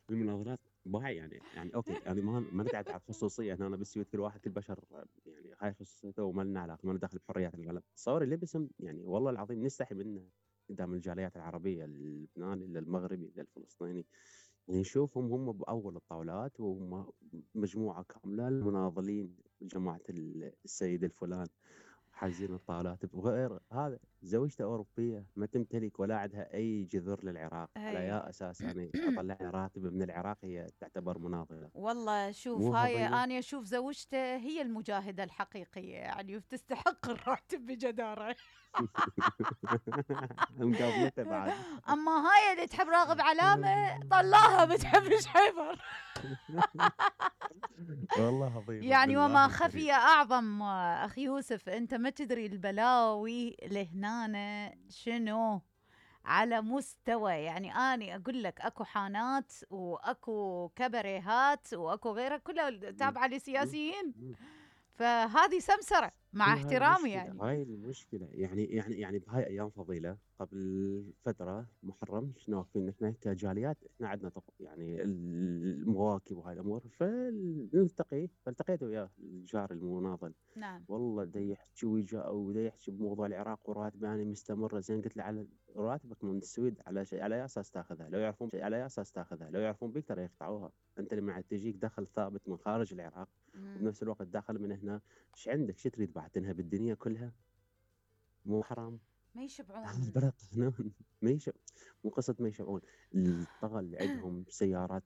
المناظرات باي يعني اوكي، يعني ما نقعد على الخصوصيه هنا. أنا بالسويد كل واحد كل بشر يعني هاي خصوصيته وما لنا علاقه، ما لنا دخل بحريات القلم. تصور اللي باسم يعني والله العظيم نستحي منه قدام الجاليات العربيه، اللبناني للمغربي للفلسطيني. يعني نشوفهم هم باول الطاولات وهم مجموعه كامله المناضلين جماعه السيد الفلان حاجزين الطاولات. بغير هذا زوجته أوروبية ما تمتلك ولا عندها أي جذور للعراق، على اي. يا أساس يعني أطلع راتب من العراق هي تعتبر مناضلة؟ والله شوف، مو هاي هضيمة. أنا أشوف زوجته هي المجاهدة الحقيقية يعني، وتستحق الراتب بجدارة. مقابلته بعد. أما هاي اللي تحب راغب علامة طلاها بتحب شحيفر. والله هضيمة يعني وما بالله خفي الكريم. أعظم أخي يوسف، أنت ما تدري البلاوي لهنا شنو على مستوى، يعني أنا أقول لك أكو حانات وأكو كبريهات وأكو غيرها كلها م- تابعة م- لسياسيين، م. فهذه سمسرة مع هي هاي احترامي المشكلة، يعني. هاي المشكلة. يعني بهاي أيام فضيلة قبل فترة محرم شنو واقفين نحن كجاليات، احنا عندنا يعني المواكب وهاي الأمور، فنلتقي. فالتقيت وياه الجار المناضل، نعم. والله دا يحكي ودا يحكي بموضوع العراق وراتب يعني مستمرة. زين قلت له على راتبك من السويد على شيء، على أي أساس تاخذها؟ لو يعرفون شيء على أي أساس تاخذها؟ لو يعرفون بيك ترى يقطعوها. أنت لما تجيك دخل ثابت من خارج العراق مم. وبنفس الوقت داخل من هنا، ايش عندك؟ شو تريد بعد تنهب الدنيا كلها؟ مو حرام؟ ما هذا يشبعون. البلد قانون. ما يشب مو قصة ما يشبعون. الطغى اللي عندهم سيارات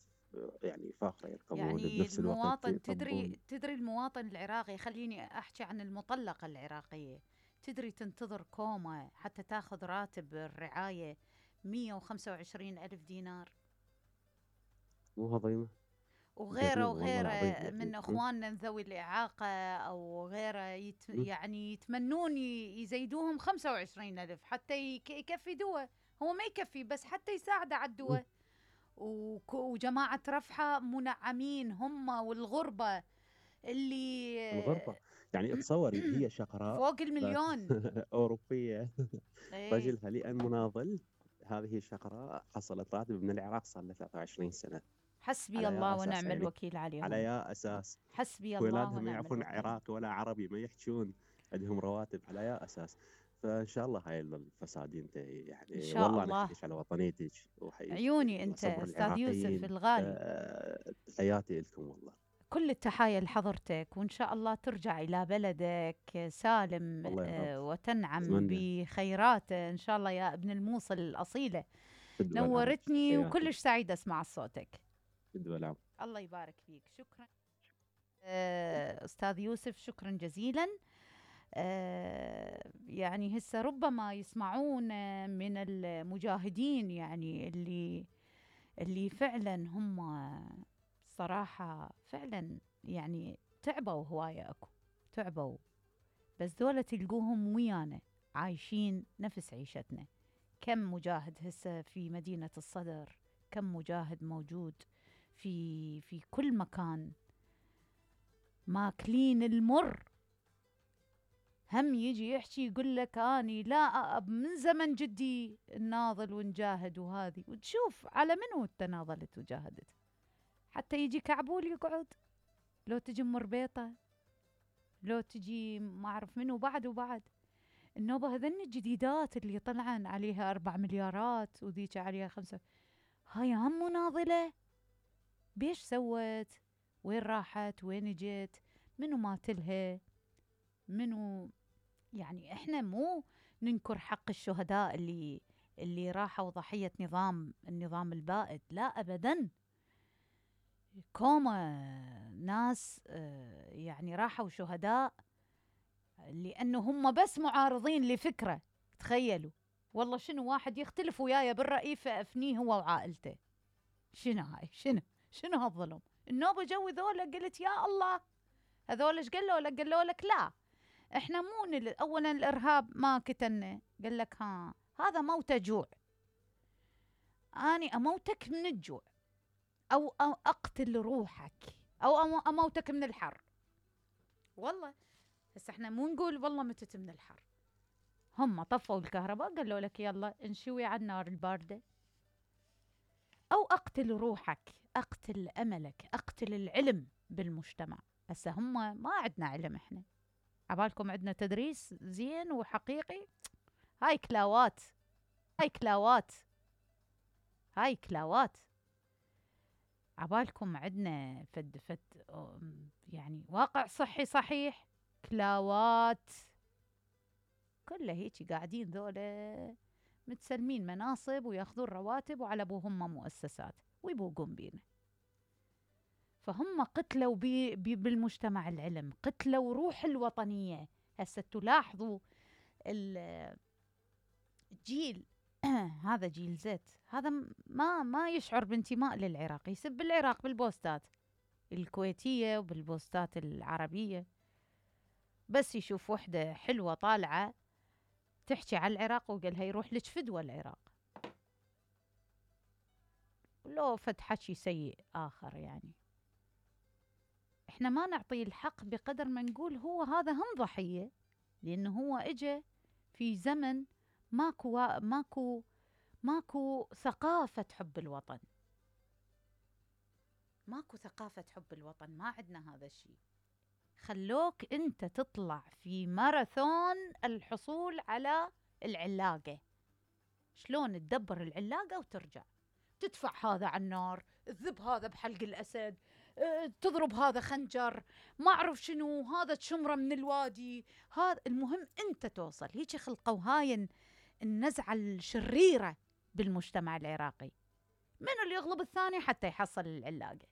يعني فاخرة يركبون يعني بنفس الوقت المواطن، تدري يطبون. تدري المواطن العراقي، خليني أحكي عن المطلقة العراقية، تدري تنتظر كوما حتى تاخذ راتب الرعاية 125 ألف دينار، مو هضيمة. وغيره جريمة والله العظيم وغيره من يعني. اخواننا ذوي الاعاقه او غيره م- يعني يتمنون يزيدوهم 25 الف حتى يكفي دواء. هو ما يكفي، بس حتى يساعد على م- الدواء. وجماعه رفحه منعمين هم، والغربه اللي الغربة. يعني تصوري هي شقراء فوق بس المليون. أوروبية. ايه. رجلها لأن مناضل. هذه الشقراء حصلت راتب من العراق صار لها 23 سنة. حسبي على الله يا أساس ونعم يعني، الوكيل على عليهم. يا أساس حسبي الله ولادهم ونعم يعرفون الوكيل. عراقي ولا عربي ما يحجون، عندهم رواتب على يا أساس. فإن شاء الله هاي الفساد ان يعني شاء والله أنا الله. أحييك على وطنيتك وأحييك عيوني على انت صبر استاذ يوسف العراقيين. الغالي. تحياتي لكم والله. كل التحايا لحضرتك، وإن شاء الله ترجع إلى بلدك سالم، الله يا رب. وتنعم أتمنى. بخيراته إن شاء الله يا ابن الموصل الأصيلة. فدوى العمر. نورتني تحياتي. وكلش سعيدة أسمع صوتك. فدوى العمر. الله يبارك فيك. شكرا أستاذ يوسف، شكرا جزيلا. يعني هسه ربما يسمعون من المجاهدين، يعني اللي فعلا هم صراحة فعلا يعني تعبوا هواية، أكو تعبوا، بس دولة تلقوهم ويانا عايشين نفس عيشتنا. كم مجاهد هسه في مدينة الصدر، كم مجاهد موجود في كل مكان، ماكلين المر. هم يجي يحكي يقول لك اني لا من زمن جدي ناضل ونجاهد، وهذه وتشوف على منو تناضلت وجاهدت. حتى يجي كعبول يقعد، لو تجي مربيطة، لو تجي ما أعرف منو بعد وبعد. النوبة هذن الجديدات اللي طلعن عليها 4 مليارات وذيك عليها 5، هاي هم مناضلة. بيش سوت؟ وين راحت؟ وين جت؟ منو ماتلها؟ منو؟ يعني احنا مو ننكر حق الشهداء اللي راحوا ضحية النظام البائد، لا أبدا. كوما ناس يعني راحوا شهداء لأنه هم بس معارضين لفكرة. تخيلوا والله شنو واحد يختلف وياي بالرأي فأفنيه هو وعائلته. شنو هاي؟ شنو هالظلم؟ النوبة جو ذولا قلت يا الله، هذول ايش قالوا لك؟ قالوا لك لا احنا مو اولا الارهاب ما كتلنا، قال لك ها هذا موت جوع، اني اموتك من الجوع أو اقتل روحك او اموتك من الحر. والله هسه احنا مو نقول والله متت من الحر. هم طفوا الكهرباء قالوا لك يلا انشوي على النار الباردة. أو أقتل روحك، أقتل أملك، أقتل العلم بالمجتمع. هسه هم ما عندنا علم إحنا، عبالكم عندنا تدريس زين وحقيقي؟ هاي كلاوات، هاي كلاوات، هاي كلاوات. عبالكم عندنا فد يعني واقع صحي صحيح؟ كلاوات. كله هيجي قاعدين ذولا متسلمين مناصب وياخذون رواتب وعلى ابوهم مؤسسات ويبوقون بينا. فهم قتلوا بالمجتمع العلم، قتلوا روح الوطنية. هسه تلاحظوا الجيل هذا جيل زد، هذا ما يشعر بانتماء للعراق، يسب العراق بالبوستات الكويتية وبالبوستات العربية، بس يشوف وحدة حلوة طالعة تحكي على العراق وقالها يروح لك فدوى العراق، لو فد حكي سيء آخر. يعني إحنا ما نعطيه الحق بقدر ما نقول هو هذا هم ضحية، لأنه هو إجا في زمن ماكو ثقافة حب الوطن، ماكو ثقافة حب الوطن، ما عندنا هذا الشيء. خلوك أنت تطلع في ماراثون الحصول على العلاقة، شلون تدبر العلاقة وترجع تدفع هذا على النار، تذب هذا بحلق الأسد، تضرب هذا خنجر، ما أعرف شنو، هذا تشمره من الوادي، هذا المهم أنت توصل. هيك خلقوا هاي النزعة الشريرة بالمجتمع العراقي، منو اللي يغلب الثاني حتى يحصل العلاقة.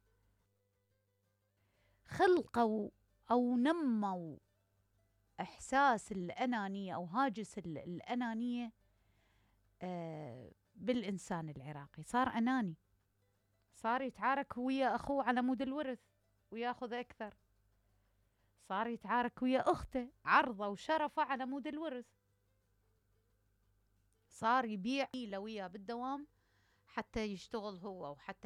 خلقوا أو نموا إحساس الأنانية أو هاجس الأنانية بالإنسان العراقي. صار أناني، صار يتعارك ويا أخوه على مود الورث وياخذ أكثر، صار يتعارك ويا أخته عرضه وشرفه على مود الورث، صار يبيع وياه بالدوام حتى يشتغل هو وحتى